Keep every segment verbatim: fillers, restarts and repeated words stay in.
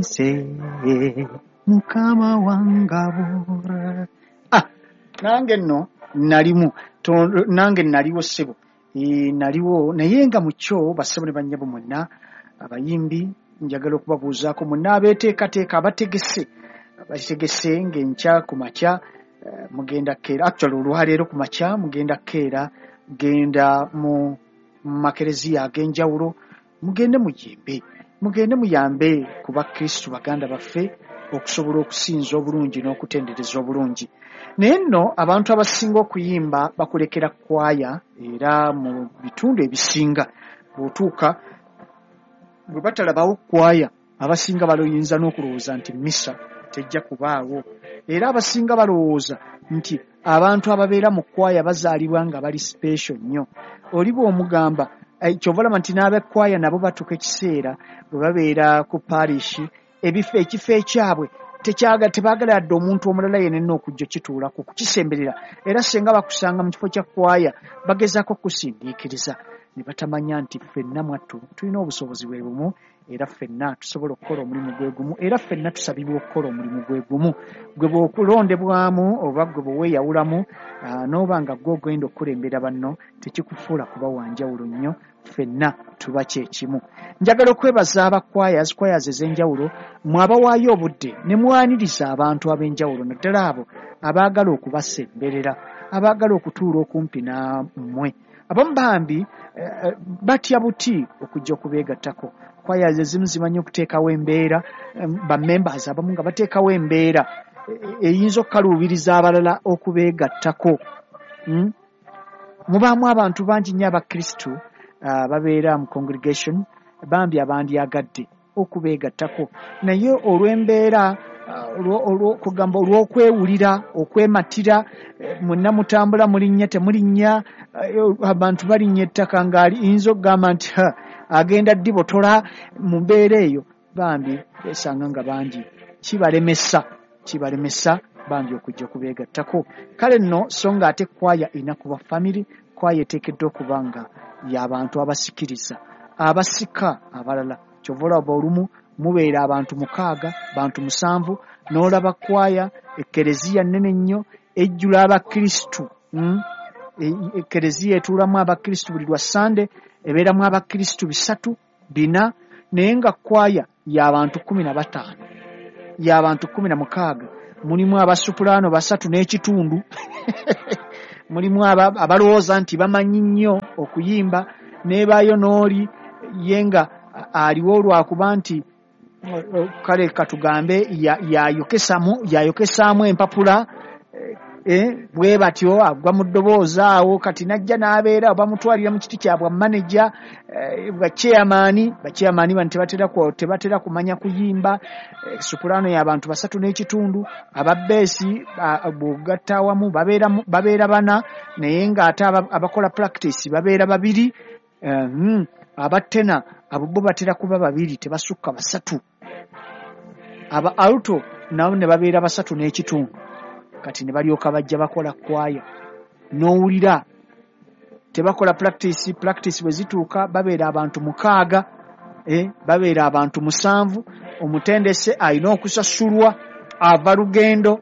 Nze Mukama wangabo. Ah, nange nno nalimu, nange naliwo ssebo, e, naliwo naye nga mu kyo bassebo ne bannyabo mwenna abayimbi njagala okubabuuzaako mwenna abeeteekateeka abategese abategese ng'enkya ku makya uh, mugenda keera, actually olwaleero ku makya mugenda keera genda mu makereziya ag'enjawulo, mugende muyimbe, mugende muyambe ku bakristu baganda baffe okusobola okusinza obulungi n'okutendereza obulungi. Naye nno abantu abasinga okuyimba bakulekera kwaya, era mu bitundu ebisinga bw'otuuka bwe batalabawo kwaya abasinga baloyinza n'okulowooza nti misa tejja kubaawo, era abasinga balowooza nti abantu ababeera mu kwaya bazaalibwa nga bali special nnyo. Oli bw'omugamba kyova olaba nti n'ab'ekkwaya nabo batuuka ekiseera bwe babeera ku parish ebifo ekifo ekyabwe tekyaga tebaagala yadde omuntu omulala yenna okujja kituulako kukisemberera, era singa bakusanga mu kifo kya kwaya bagezaako kusindiikiriza ne batamanya nti ffenna mwattu tulina obusobozi bwe bumu, era ffenna tusobola okukola omulimu gwe gumu, era ffenna tusabibwa okukola omulimu gwe gumu. Gwe bw'okulondebwamu oba gwe bweweeyawulamu n'oba nga gwe ogenda okukulembera banno tekikufuula kuba wa njawulo nnyo, ffenna tuba kye kimu. Njagala okwebaza abakwaya choirs ez'enjawulo mwabawaayo obudde ne mwaniriza abantu ab'enjawulo naddala abo abaagala okubasemberera, abaagala okutuula okumpi nammwe. Abamu bambi eh, batya buti okujja okubeegattako. Choirs ezimu zimanyi okuteekawo embeera, bammembers abamu nga bateekawo embeera eyinza okukaluubiriza abalala okubeegattako. Mm? Mubaamu abantu bangi nnyo abakristu uh, babeera mu congregation bambi abandyagadde okubeegattako, naye olw'embeera olw'okugamba olw'okwewulira okwematira, mwenna mutambula mulinnya temulinnya, abantu balinnya ettaka ng'ayinza okugamba nti agenda ddibotola mu mbeera eyo, bambi besanga nga bangi kibalemesa kibalemesa bambi okujja okubeegattako. Kale nno so nga ate kwaya erina kuba family, kwaya eteekeddwa okuba nga y'abantu abasikiriza abasika abalala. Kyova olaba olumu mubeera abantu mukaaga bantu musanvu n'olaba kwaya ekkereziya nnene nnyo ejjula abakristu. Mm? Ekkereziya etuulamu abakristu buli lwa Sande ebeeramu abakristu bisatu bina, naye nga kwaya y'abantu kkumi na bataano y'abantu kkumi na mukaaga, mulimu abasupulaano basatu n'ekitundu mulimu abalowooza nti bamanyi nnyo okuyimba, n'ebaayo n'oli ye nga aliwo olwakuba nti kale katugambe yayokesaamu empapula eh, bwe batyo agwa mu ddoboozi awo, kati najja n'abeera bamutwalira mu kiti kya bwa manager eh, bwa chairman. Bachairman bano tebatera tebatera kumanya kuyimba. Eh, supulaano y'abantu basatu n'ekitundu, ababbeesi bw'ogatta awamu babeera babeera bana, naye ng'ate abakola practice babeera babiri. Eh, mm, abatena abo bo batera kuba babiri tebasukka basatu, aba alto nabo ne babeera basatu n'ekitundu, kati ne balyoka bajja bakola kwaya n'owulira tebakola practice. Practice bwe zituuka babeera abantu mukaaga, eh, babeera abantu musanvu, omutendese alina okusasulwa ava lugendo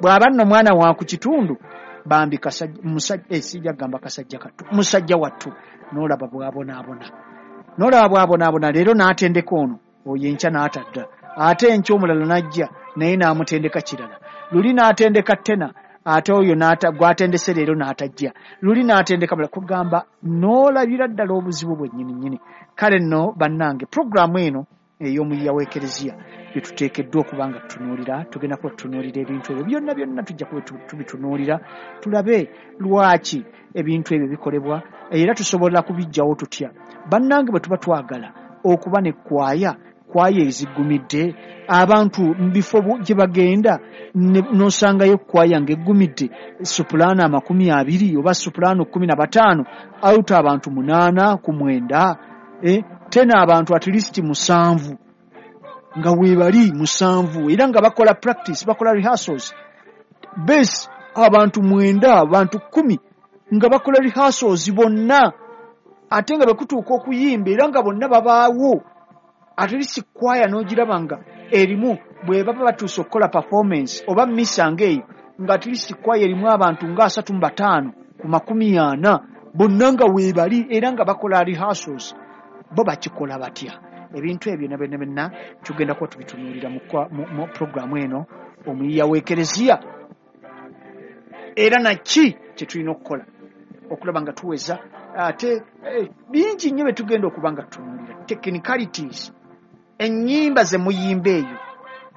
bw'aba nno mwana wa ku kitundu bambi kasajja musajja eh, sijja kugamba kasajja kattu musajja wattu, n'olaba bw'abonaabona n'olaba bw'abonaabona leero n'atendeka ono oyo enkya n'atadda, ate enkya omulala n'ajja naye n'amutendeka kirala, luli n'atendeka tena ate oyo gw'atendese leero n'atajja, luli n'atendeka mulala, kugamba n'olabira ddala obuzibu bwennyini nnyini. Kale nno bannange puroguraamu eno ey'omuyiya w'ekereziya bye tuteekeddwa okuba nga tutunuulira, tugenda kuba tutunuulira ebintu ebyo byonna byonna, tujja kuba tubitunuulira tulabe lwaki ebintu ebyo bikolebwa era tusobola kubiggyawo tutya. Bannange bwe tuba twagala okuba ne kwaya kwaya ezigumidde abantu mu bifo gye bagenda n'osangayo kwaya ng'eggumidde supulaano amakumi abiri oba supulaano kkumi na bataano, alto abantu munaana ku mwenda, eh, tena abantu at least musanvu nga weebali musanvu, era nga bakola practice bakola rehearsals, base abantu mwenda abantu kkumi nga bakola rehearsals bonna, ate nga bwe kutuuka okuyimba era nga bonna babaawo, At least kwaya n'ogiraba nga erimu bwe baba batuuse okukola performance oba misa ng'eyo, nga at least kwaya erimu abantu nga asatu mu bataano ku makumi ana bonna nga weebali era nga bakola rehearsals. Bo bakikola batya? Ebintu ebyo na byonna byonna tugenda kuba tubitunuulira mu, mu, mu programu eno Omuyiiya w'Ekereziya, era naki kye tulina okukola okulaba nga tuweza. Ate eh, bingi nnyo bye tugenda okuba nga tutunuulira, technicalities, ennyimba ze muyimba eyo.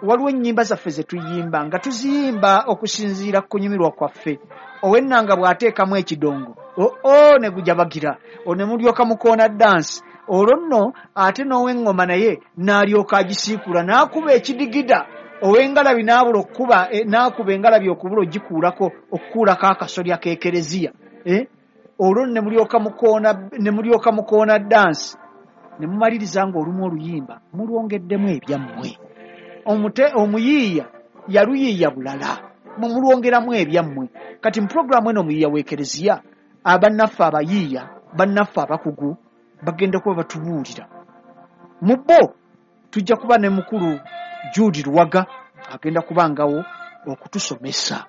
Waliwo ennyimba zaffe ze tuyimba nga tuziyimba okusinziira ku kunyumirwa kwaffe. Ow'ennanga bw'ateekamu ekidongo oo ne gujabagira, ne mulyoka mukoona dansi. Olwo nno ate n'ow'eŋŋoma naye n'alyoka agisiikula n'akuba ekidigida, ow'engalabi n'abula okukuba, n'akuba engalabi okubula ogikuulako okukuulako akasolya k'ekereziya. Eh? Olwo ne mulyoka mukoona, ne mulyoka mukoona dansi, ne mumaliriza ng'olumu oluyimba mulwongeddemu ebyammwe. Omute omuyiiya yaluyiiya bulala, mumulwongeramu ebyammwe. Kati mu pulogulaamu eno Omuyiiya w'Ekereziya, abannaffe abayiiya, bannaffe abakugu bagenda kuba batubuulira. Mu bo tujja kuba ne mukulu Jude Luwaga, agenda kubangawo okutusomesa,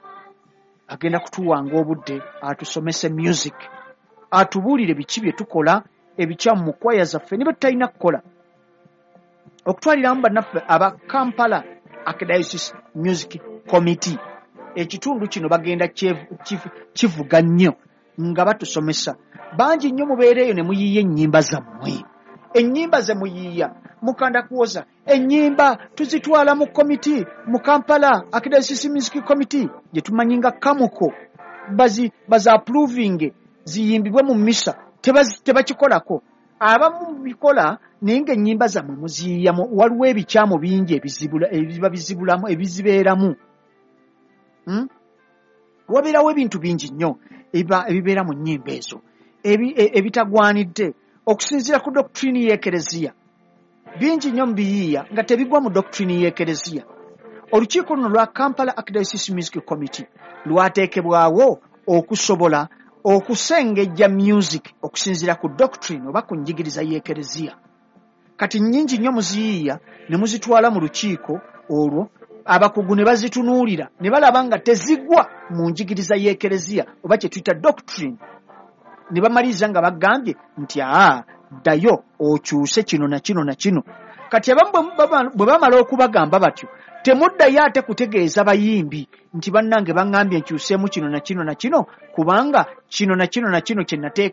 agenda kutuwanga obudde atusomese music, atubuulire biki bye tukola ebikyamu mu kwaya zaffe ne bye tutalina kukola. Okutwaliramu bannaffe aba Kampala Archdiocese Music Committee, ekitundu kino bagenda kivuga nnyo nga batusomesa. Bangi nnyo mubeera eyo ne muyiiya ennyimba zammwe. Ennyimba ze muyiiya mukanda kuwoza ennyimba tuzitwala mu komiti mu Kampala Archdiocese Music Committee gye tumanyi nga Kamuko, bazi baza approving ziyimbibwe mu misa, tebakikolako. Abamu bikola naye ng'ennyimba zammwe muziyiiyamu, waliwo ebikyamu bingi ebizibula ebiba bizibulamu ebizibeeramu. Hmm? Wabeerawo ebintu bingi nnyo ebibeera mu nnyimba ezo ebitagwanidde okusinziira ku doctrine y'Ekereziya. Bingi nnyo mubiyiiya nga tebigwa mu doctrine y'Ekereziya. Olukiiko luno lwa Kampala Archdiocese Music Committee lwateekebwawo okusobola okusengejja music okusinziira ku doctrine oba ku njigiriza y'Ekereziya. Kati nnyingi nnyo muziyiiya ne muzitwala mu lukiiko olwo, abakugu ne bazitunuulira ne balaba nga tezigwa mu njigiriza y'Ekereziya oba kye tuyita doctrine, ne bamaliriza nga bagambye nti aa ddayo okyuse kino na kino na kino. Kati abamu bwe bamala okubagamba batyo, temuddayo ate kutegeeza bayimbi nti bannange baŋŋambye nkyuseemu kino na kino na kino, kubanga kino na kino na kino kye nateeka